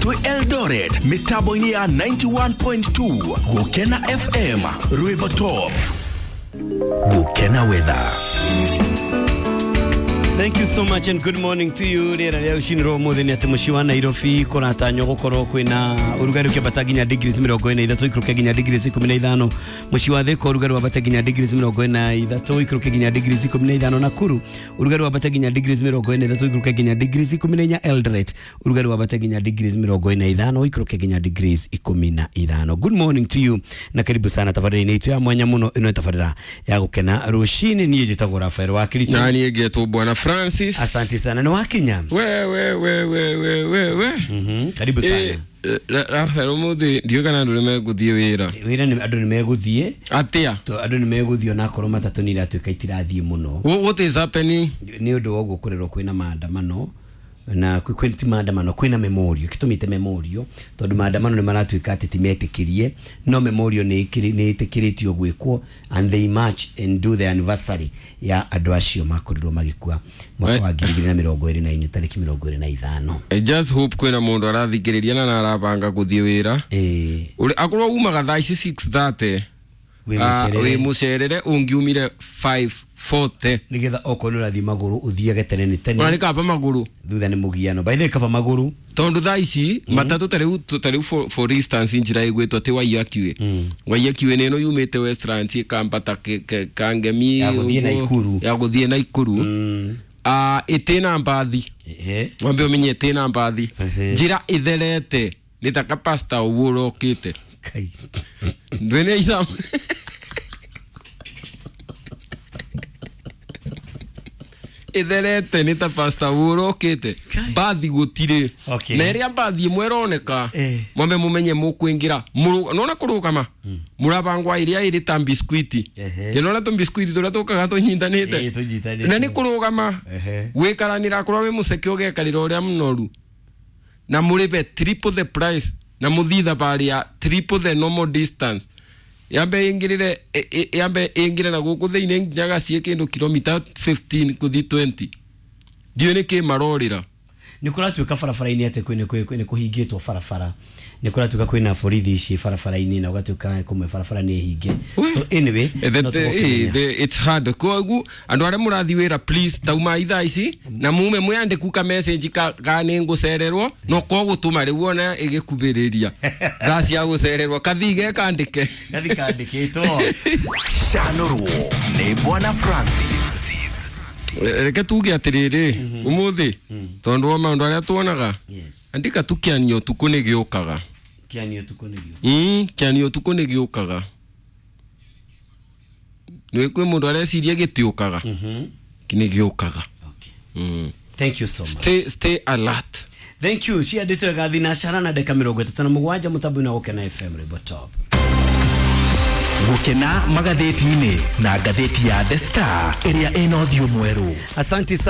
Twĩ Eldoret mĩtambo-inĩ ya 91.2 Gũkena FM Rwĩmbo Top. Gũkena Weather. Thank you so much and good morning to you. Rĩera rĩa rũcinĩ rwa ũmũthĩ nĩ atĩ mũciĩ wa Nairobi kũratanywo gũkorwo kwĩna ũrugarĩ ũkĩambata nginya degrees 43 ikũrũke nginya degrees 15. Mũciĩ wa Thika ũrugarĩ wambate nginya degrees 43 ikũrũke nginya degrees 15. Nakuru ũrugarĩ wambate nginya degrees 43 ikũrũke nginya degrees 14. Eldoret ũrugarĩ wambate nginya degrees 45 ikũrũke nginya degrees 15. Good morning to you na karibu sana tabarĩra-inĩ itũ ya mwanya mũno. Ĩno nĩ tabarĩra ya gũkena rũcinĩ. Niĩ njĩtagwo Rafael wa Kiricho. Na niĩ ngetwo Bwana Francis. Asante sana. Nĩ wakinya? We we we we we we we. Karibu sana. Rafael, ũmũthĩ ndiũĩ kana andũ nĩmegũthiĩ wĩra. Wĩra nĩ andũ nĩ megũthiĩ. Atĩa? Andũ nĩ megũthiĩ onakorwo matatũ nĩ iratuĩka itirathiĩ mũno. What is happening? Nĩ ũndũ wa ũguo kũrerwo kwĩna maandamano na kwĩ ti maandamano, kwĩna memorial gĩtũmĩte memorial tondũ maandamano nĩ maratuĩka atĩ ti metĩkĩrie, no memorial nĩ ĩtĩkĩrĩtio gwĩkwo and they march and do the anniversary ya andũ acio makorirwo magĩkua mwaka wa 2024 tarĩki 25. I just hope kwĩna mũndũ arathikĩrĩria na arabanga gũthiĩ wĩra. Akorwo umaga thaa ici 6:30 wĩ mũcerere ũngiumire 5:40 nĩgetha okorwo nĩ ũrathiĩ magũrũ ũthiage tene nĩ tene. Ona nĩ kaba magũrũ thutha nĩ mũgiano, by the way kaba magũrũ tondũ thaa ici matatũ tarĩu for instance njĩra ĩgwĩtwo atĩ Waiyaki Waiyaki nĩ ĩno yumĩte Westlands ĩkambata Kangemi ya gũthiĩ Naikuru, ya gũthiĩ Naikuru ĩtĩna mbathi, wambe ũmenye ĩtĩna mbathi, njĩra ĩtherete nĩ ta kapasta ũguo ũrokĩte ndwĩne ithaa itherete nĩ ta pasta ũrokĩte mbathi gũtirĩ na ĩrĩa mbathi ĩmwe ĩroneka mwambe mũmenye mũkũingĩra nona kũrũgama mũrabangwa ĩrĩa ĩrĩ ta biscuiti kĩnona tũbiscuiti tũrĩa tũkaga tũnyitanĩte na nĩ kũrũgama gwĩkaranĩra akorwo wĩ mũceke ũgekarĩra ũrĩa mũnoru na mũrĩbe triple the price na mũthiĩ thabarĩ ya triple the normal distance yambe ingirire yambe ingire na guku thiini nginyaga cie kindu kilomita 15 kuthi 20 ndiũ nĩ kĩ marorĩra. Nĩ kũratuĩka barabara-inĩ atĩ kwĩ nĩ kũhingĩtwo barabara, nĩ kũratuĩka kwĩna borithi ici barabara-inĩ na ũgatuĩka kũmwe barabara nĩ hinge. So anyway, it's hard koguo andũ arĩa mũrathiĩ wĩra please tauma ithaa ici na mume mwĩandĩku ka message ka nĩ ngũcererwo no kogũtũma rĩu ona ĩgĩkubĩrĩria thaa cia gũcererwo kathii gekandĩke gathii kandĩkĩtwo. Canũrwo nĩ Bwana Francis. Reke tuge atĩrĩrĩ ũmũthĩ tondũ wa maũndũ arĩa tuonaga, andĩka tu kĩanio ũtukũ nĩ gĩũkaga. Kĩanio ũtukũ nĩ gĩũkaga. Kĩanio ũtukũ nĩ gĩũkaga. Nĩ kwĩ mũndũ areciria gĩtiũkaga, nĩ gĩũkaga. Thank you so much. Stay alert. Thank you. Ciandĩtwo wega thinacara na ndagĩka 37 mũtambo-inĩ wa Gũkena FM Rwĩmbo Top. Gũkena magathĩti-inĩ na ngathĩti ya The Star ĩrĩa ĩna ũthiũ mwerũ. Asante sana.